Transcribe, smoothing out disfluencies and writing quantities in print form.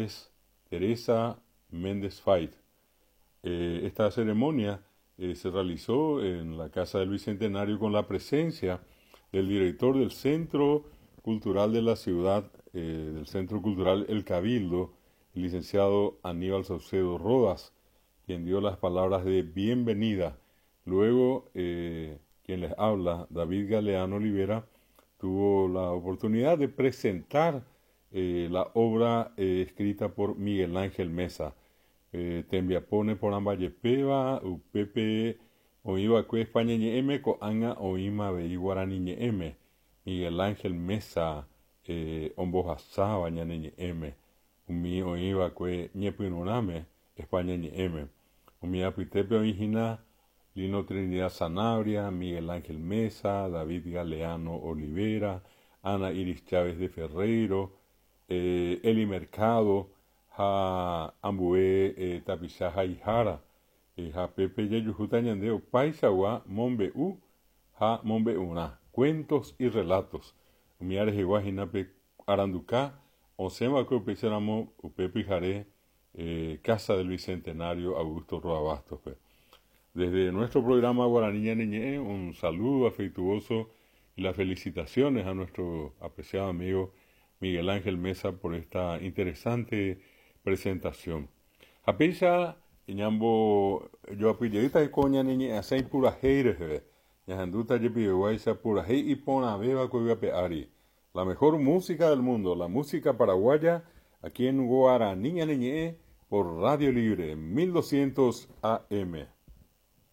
Mercedes Teresa Méndez Fait. Esta ceremonia se realizó en la Casa del Bicentenario con la presencia del director del Centro Cultural de la ciudad, del Centro Cultural El Cabildo, el licenciado Aníbal Saucedo Rodas, quien dio las palabras de bienvenida. Luego, quien les habla, David Galeano Olivera, tuvo la oportunidad de presentar la obra escrita por Miguel Ángel Mesa. Tembiapo neporãmbajepéva, upépe oĩva'ekue España ñe'ẽme, ko'ág̃a oĩma avei Guarani ñe'ẽme. Miguel Ángel Mesa ombohasáva ñane ñe'ẽme, umi oĩva'ekue ñepyrũrãme España ñe'ẽme. Umi apytépe oĩhína Lino Trinidad Sanabria, Miguel Ángel Mesa, David Galeano Olivera, Ana Iris Chávez de Ferreiro, Eli Mercado ha ambue tapicha haihára. Ha pépe jajuhúta ñande opaichagua mombe'u ha mombe'urã, cuentos y relatos. Umi arehegua hína pe aranduka osẽva'ekue upéicharamo upe pyhare Casa del Bicentenario Augusto Roa Bastos-pe. Desde nuestro programa Guarani Ñane Ñe'ẽ, un saludo afectuoso y las felicitaciones a nuestro apreciado amigo Miguel Ángel Mesa por esta interesante presentación. Ha péicha ñambojoapyjeýta heko ñane ñe'ẽasãi purahéi reheve. Ñahendúta jepiveguáicha purahéi iporãvéva ko yvy ape ári. La mejor música del mundo, la música paraguaya, aquí en Guarani Ñane Ñe'ẽ por Radio Libre 1200 AM.